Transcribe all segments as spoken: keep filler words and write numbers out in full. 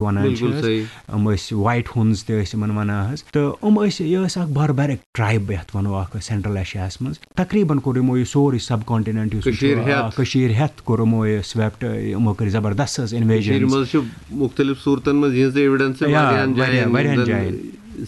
وَنان چھِ بِلکُل حظ۔ صحیح۔ یِم ٲسۍ وایٹ ہُنز تہِ ٲسۍ یِمَن وَنان حظ۔ تہٕ یِم ٲسۍ، یہِ ٲس اَکھ باربیرِک ٹرٛایب یَتھ وَنو، اَکھ سینٹرل ایشیاہَس منٛز۔ تقریٖباً کوٚر یِمو یہِ سورُے سب کانٹیننٹ یُس یہِ چھُ، کٔشیٖر آ، ہٮ۪تھ۔ کٔشیٖر ہٮ۪تھ کوٚر یِمو یہِ سویپٹ، یِمو کٔرۍ زبردست حظ کٔشیٖرِ انویجنز۔ منٛز چھُ مُختٔلِف صوٗرتَن منٛز یِہٕنٛزٕ ایویڈنس یا، واریاہَن واریاہ، جایَن، واریاہَن زَن جایَن۔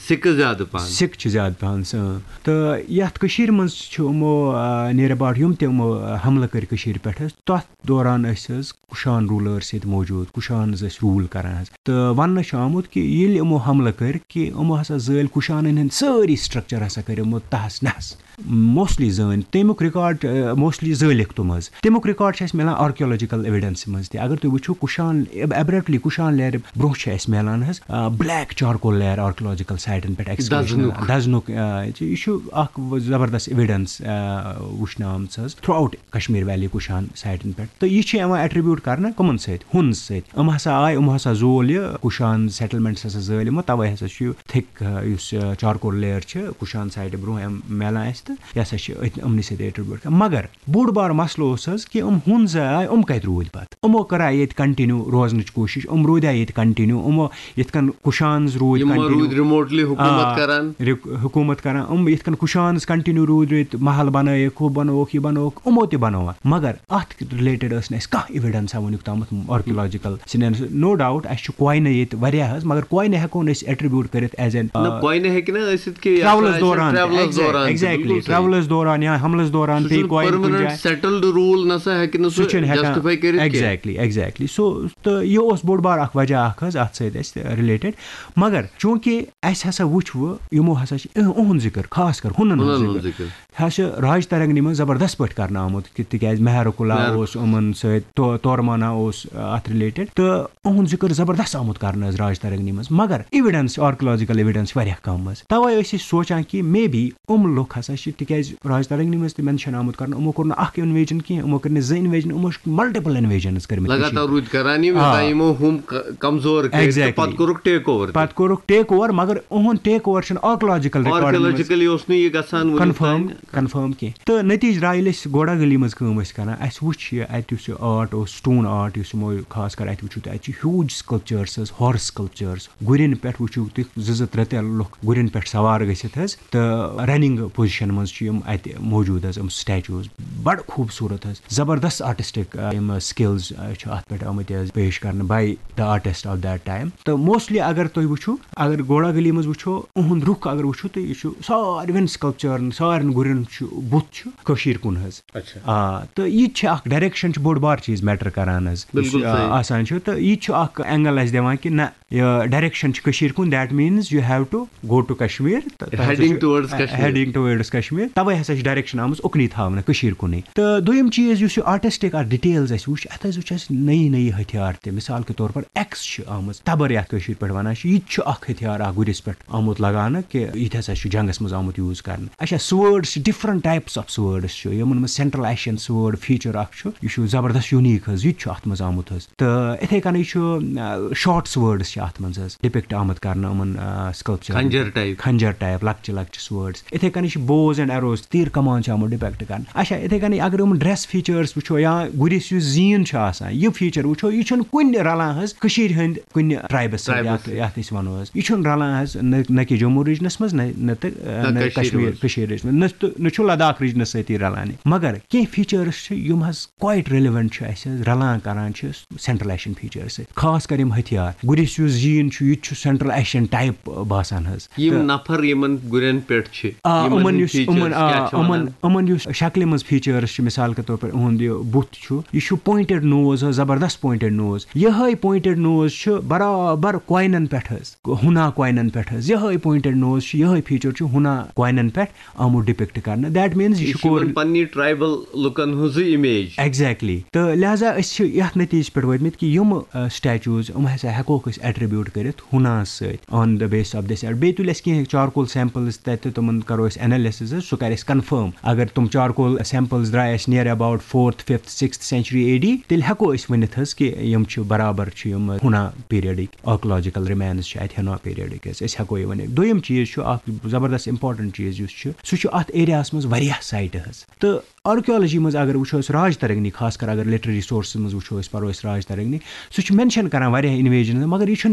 سِکہٕ زیادٕ پَہَن۔ سِکھ چھِ زیادٕ پَہَن سٲنۍ۔ تہٕ یَتھ کٔشیٖرِ منٛز چھُ یِمو، آ، near about یِم تہِ یِمو، آ، حملہٕ کٔرۍ کٔشیٖرِ پٮ۪ٹھ حظ، تَتھ دوران ٲسۍ حظ کُشان روٗلٲرٕس ییٚتہِ موجوٗد، کُشانز ٲسۍ روٗل کَران حظ۔ تہٕ وَننہٕ چھُ آمُت کہِ ییٚلہِ یِمو حملہٕ کٔرۍ کہِ یِمو ہسا زٲلۍ کُشانَن ہٕنٛدۍ سٲری سٹرکچر ہسا کٔرۍ یِمو تہس نہس۔ موسٹلی زٲنۍ تَمیُک ریکارڈ، آ، موسٹلی زٲلِکھ تِم حظ۔ تَمیُک ریکارڈ چھُ اَسہِ مِلان آرکیولوجیکل ایویڈنسہِ منٛز تہِ۔ اگر تُہۍ وٕچھِو، کُشان، ایب-، ایبریپٹلی کُشان لیر برونٛہہ چھُ اَسہِ مِلان حظ، آ، بلیک چارکول لیر آرکیولوجیکل سائٹن پٮ۪ٹھ ایکسکیویشن۔ دَزنُک۔ دَزنُک، آ، یہِ چھُ اَکھ زبردست ایویڈنس، آ، وٕچھنہٕ آمٕژ حظ through out Kashmir valley Kushan سائٹن پٮ۪ٹھ۔ تہٕ یہِ چھِ یِوان ایٹریبیوٹ کرنہٕ کٕمن سۭتۍ؟ ہُنز سۭتۍ۔ یِم ہسا آے، یِم ہسا زول یہِ کُشان سیٹلمنٹس ہسا زٲلۍ یِمو، توے ہسا چھُ یہِ تھِک، آ، یُس، آ، چارکول لیر چھِ کُشان سائٹہِ برونٛہہ یِم میلان اَسہِ، تہٕ یہِ ہسا چھِ أتھۍ یِمنٕے سۭتۍ ایٹریبیوٹ کران۔ مگر بوٚڑ بار مسلہٕ اوس حظ کہِ یِم ہُنزٕ آے، یِم کتہِ روٗدۍ پتہٕ؟ یِمو کٔرا ییٚتہِ کنٹِنیو روزنٕچ کوٗشِش؟ یِم روٗدیا ییٚتہِ کنٹِنیو؟ یِمو یِتھ کٔنۍ کُشانز روٗدۍ یِم ما کنٹِنیو؟ روٗدۍ ریموٹلی حکوٗمت آ، کران؟ رِک-، حکوٗمت کران۔ یِم یِتھ کٔنۍ کُشانز کنٹِنیو روٗدۍ، روٗدۍ محل بنٲیِکھ، ہُہ بنووُکھ، یہِ بنووُکھ، یِمو تہِ بنوو۔ مگر اتھ رِلیٹڈ ٲس نہٕ اَسہِ کانٛہہ ایویڈنس وٕنیُک تامَتھ آرکیولوجیکل سِنٮ۪ن۔ نو ڈاوُٹ، اَسہِ چھُ کوینہٕ ییٚتہِ واریاہ حظ، مگر کوینہٕ ہٮ۪کو نہٕ أسۍ ایٹریبیوٹ کٔرِتھ ایز این، نہ، کوینہٕ ہیٚکہِ نہ ٲسِتھ کہِ یہِ ہسا ٹریولس آسہِ دوران، ٹریولس دوران تہِ، ایگزیکٹلی، بِلکُل صحیح۔ ٹریولس دوران یا حملس دوران سُہ پیٚیہِ چھُنہٕ کوین کُنہِ پٔرمننٹ جایہِ۔ سیٹلڈ روٗل نسا ہیٚکہِ نہٕ سُہ سُہ چھُنہٕ ہٮ۪کان۔ جسٹِفاے کٔرِتھ کینٛہہ۔ Exactly, exactly. سو، تہٕ یہِ اوس بوٚڑ بار اکھ وجہ اکھ حظ اتھ سۭتۍ اَسہِ رِلیٹڈ۔ مگر چوٗنکہِ اَسہِ ہسا وٕچھ وۄنۍ، یِمو ہسا چھِ اِہ-، اُہُنٛد ذِکر، خاص کر ہُنن ہُنٛد ہُنن ہُنٛد ذِکر۔ ذِکر۔ ہسا چھُ راج ترنگنی منٛز زبردست پٲٹھۍ کرنہٕ آمُت، کہِ تِکیازِ مہرکُلا مہرکُلا۔ اوس یِمن سۭتۍ، تو-، تورمانا اوس، آ، اتھ رِلیٹڈ، تہٕ اُہُنٛد ذِکر زبردست آمُت کرنہٕ حظ راج ترنگنی منٛز۔ مگر ایویڈنس، آرکیولوجیکل ایویڈنس چھِ واریاہ کم حظ۔ توے ٲسۍ أسۍ سونچان کہِ مے بی یِم لُکھ ہسا چھِ، تِکیازِ راج ترنگنی منٛز تہِ مینشن آمُت کرنہٕ، یِمو کوٚر نہٕ اکھ انویجن کینٛہہ، یِمو کٔرۍ نہٕ زٕ انویجن، یِمو چھِ ملٹیپل انویجنز کٔرمٕتۍ کٔشیٖرِ۔ لگاتار روٗدۍ کران یِم، آ۔ یوٚتام یِمو ہُم ک-، کمزور کٔرۍ تہٕ ایگزیکٹلی۔ پتہٕ کوٚرُکھ ٹیک اوور تہِ۔ پتہٕ کوٚرُکھ ٹیک اوور، مگر اُہُنٛد ٹیک اوور چھُنہٕ آرکیولوجیکل ریکارڈن منٛز آرکیولوجیکلی اوس نہٕ یہِ گژھان وُنیُک کنفرم، تام۔ کنفرم کینٛہہ۔ تہٕ نتیجہ درٛایہِ ییٚلہِ أسۍ گوڑا گلی منٛز کٲم ٲسۍ کران، اَسہِ وُچھ یہِ اَتہِ یُس یہِ آرٹ اوس، سٹون آرٹ یُس یِمو خاص کر اَتہِ وُچھِو تُہۍ، اَتہِ چھِ ہیوٗج سکلپچٲرس حظ، ہارس سکلپچٲرس۔ گُرٮ۪ن پٮ۪ٹھ وٕچھِو تُہۍ، زٕ زٕ ترٛےٚ ترٛےٚ لُکھ گُرٮ۪ن پٮ۪ٹھ سوار گٔژھِتھ حظ، تہٕ رننگ پوزیشن منٛز چھِ یِم اَتہِ موجوٗد حظ، یِم سٹیچوز۔ بڑٕ خوٗبصوٗرت حظ، زبردست آرٹسٹک، آ، یِم سکلز، آ، چھِ اَتھ پٮ۪ٹھ آمٕتۍ حظ پیش کرنہٕ by the artist of that time۔ تہٕ موسٹلی اگر تُہۍ وٕچھِو، اگر گوڑا گلی منٛز وٕچھو، اُہُنٛد رُخ اگر وٕچھِو، تہٕ یہِ چھُ ساروٮ۪ن سکلپچرن، سارنٕے گُرٮ۪ن چھُ بُتھ چھُ کٔشیٖرِ کُن حظ۔ اچھا۔ آ، تہٕ یہِ تہِ چھِ اکھ ڈایریکشن چھِ بوٚڑ بار چیٖز میٹر کران حظ، یُس، بِلکُل آ، صحیح۔ آسان چھُ، تہٕ یہِ تہِ چھُ اکھ اینگل اَسہِ دِوان کہِ نہ، یہِ ڈایریکشن چھِ کٔشیٖرِ کُن، that means you have to go to Kashmir، تہٕ تۄہہِ ہسا heading چھُ، towards آ، Kashmir۔ Heading towards Kashmir، توے ہسا چھِ ڈایریکشن آمٕژ اُکنُے تھاونہٕ، کٔشیٖرِ کُنُے۔ تہٕ دوٚیِم چیٖز یُس یہِ آرٹسٹک اکھ ڈیٹیلز اَسہِ وٕچھ، اَتھ حظ وٕچھ اَسہِ نٔیی نٔیی ہتھیار تہِ، مثال کے طور پر ایکس چھِ آمٕژ، تبر یَتھ کٲشِر پٲٹھۍ وَنان چھِ، یہِ تہِ چھُ اکھ ہتھیار اکھ گُرِس پٮ۪ٹھ آمُت لگاونہٕ کہِ یہِ تہِ ہسا چھُ جنگس منٛز آمُت یوٗز کرنہٕ۔ اچھا، سوٲرڈس چھِ، different types of سوٲرڈس چھِ، یِمن منٛز سینٹرل ایشین سوٲرڈ فیچر اکھ چھُ، یہِ چھُ زبردست یونیک حظ، یہِ تہِ چھُ اتھ منٛز آمُت حظ۔ تہٕ اِتھے کٔنۍ چھُ، آ، شارٹ سوٲرڈس چھِ اتھ منٛز حظ ڈپکٹ آمُت کرنہٕ، یِمن، آ، سکلپچر۔ خنجر ٹائپ۔ خنجر ٹائپ، لۄکچہِ لۄکچہِ سوٲرڈس۔ اِتھے کٔنۍ چھِ بوز اینڈ ایروز، تیٖر کمان چھِ آمُت ڈپکٹ کرنہٕ۔ اچھا، اِتھے کٔنۍ اگر یِمن ڈریس فیچرس وٕچھو یا گُرِس یُس زیٖن چھُ آسان، یہِ فیچر وٕچھو، یہِ چھُنہٕ کُنہِ رلان حظ کٔشیٖرِ ہٕنٛدۍ کُنہِ ٹرائبس سۭتۍ، ٹرائبس یتھ، سۭتۍ۔ یتھ أسۍ ونو حظ۔ یہِ چھُنہٕ رلان حظ نہ، نہ کہِ جموں ریجنس منٛز، نہ، نہ تہٕ، آ، نہ نہ کٔشیٖرِ کشمیر، منٛز۔ کٔشیٖرِ منٛز، نہ تہٕ، نہ چھُ لداخ ریجنس سۭتی رلان یہِ۔ مگر کینٛہہ فیچرس چھِ، یِم حظ کوائٹ ریلیونٹ چھِ اَسہِ حظ، رلان کران چھِ سینٹرل ایشین فیچرس سۭتۍ۔ خاص کر یِم ہتھیار، گُرِس یُس زیٖن چھُ، یہِ تہِ چھُ سینٹرل ایشین ٹائپ باسان حظ۔ یِم تہٕ نفر یِمن گُرٮ۪ن پٮ۪ٹھ چھِ، آ، یِمن یِمن ہٕنٛدۍ یُس، فیچرس یِمن، آ، کیٛاہ چھِ یِمن، وَنان؟ یِمن یُس شکلہِ منٛز فیچرس چھِ، مثال کے طور پر اُہُنٛد یہِ بُتھ چھُ، یہِ چھُ پوینٹڈ نوز حظ، زبردست پوینٹڈ نوز۔ یِہے پوینٹڈ نوز چھُ برابر کوینن پٮ۪ٹھ حظ، ہُنا کوینن پٮ۪ٹھ حظ۔ یِہے پوینٹڈ نوز چھُ، یِہے فیچر چھُ ہُنا کوینن پٮ۪ٹھ آمُت ڈپکٹ کرنہٕ۔ That means یہِ یہِ چھُ چھُ کور یِمن پننہِ ٹرائبل لُکن ہٕنٛزٕے امیج۔ ایگزیکٹلی۔ تہٕ لہذا أسۍ چھِ یَتھ نٔتیٖجَس پٮ۪ٹھ وٲتمٕتۍ کہِ یِم، آ، سٹیچوز، یِم ہسا ہٮ۪کوکھ أسۍ ایٹریبیوٹ کٔرِتھ ہُناہَس سۭتۍ on the basis of this ایٹ۔ بیٚیہِ تُلۍ اَسہِ کینٛہہ چارکول سیمپلز تَتہِ تہٕ تِمَن کَرو أسۍ انالیسز حظ، سُہ کَرِ اَسہِ کنفرم۔ اگر تِم چارکول سیمپلز درٛاے اَسہِ near about fourth, fifth, sixth century A D، تیٚلہِ ہٮ۪کو أسۍ ؤنِتھ حظ کہِ یِم چھِ برابر چھِ یِم ہُنا پیریڈٕکۍ آرکیولوجیکل ریمینز چھِ اَتہِ ہٮ۪نوا پیریڈٕکۍ حظ، أسۍ ہٮ۪کو یہِ ؤنِتھ۔ دوٚیِم چیٖز چھُ اَکھ زبردست امپورٹنٹ چیٖز یُس چھُ، سُہ چھُ اَتھ ایریاہَس منٛز واریاہ سایٹہٕ حظ۔ تہٕ آرکیولوجی منٛز اگر وٕچھو أسۍ راج ترنگنی، خاص کر اگر لٹریری سورسز منٛز وٕچھو أسۍ، پَرو أسۍ راج ترنگنی، سُہ چھُ مینشن کران واریاہ انویجنز، مگر یہِ چھُنہٕ